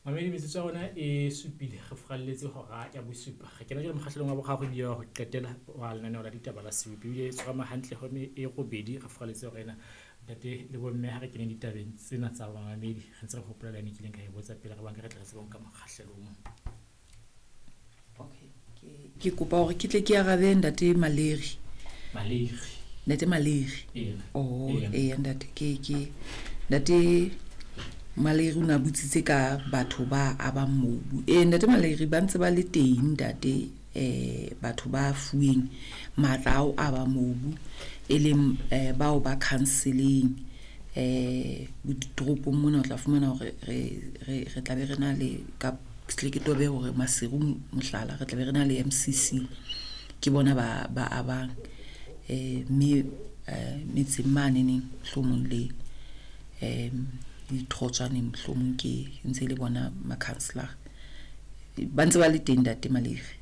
Mamedi, metsotso ya rona e supile, re furalletse hora ya bosupa. Re kena jwale mokgahlelong wa boraro ebile wa ho qetela wa lenaneo la ditaba la seopi. Ebile e tshwarama hantle ho e robedi, re furalletse hora ena. Ntate le bomme, ha re keneng ditabeng tsena tsa bamamedi, re ntse re hopola le yane e kileng ka e botsa pele re banka re tle re tsebe ho nka mokgahlelo o mong. Okay, ke kopa hore ke tle ke arabe ntate Maleri. Maleri. Ntate Maleri. Eya. Oh, Eya. eya ntate, ke ntate Maleri o ne a botsitse ka batho ba abang mobu. Ee, ntate Maleri ba ntse ba le teng ntate, batho ba fuweng matla ao aba mobu, e leng bao ba counseling ditoropong mona o tla fumana hore re tla be re na le ka tle ke tobe hore Maseru mohlala re tla be re na le MCC, ke bona ba abang mme metseng maneneng mohlomong le ditorotswaneng mohlomong ke ntse le bona ma-councillor ba ntse ba le teng ntate Maleri.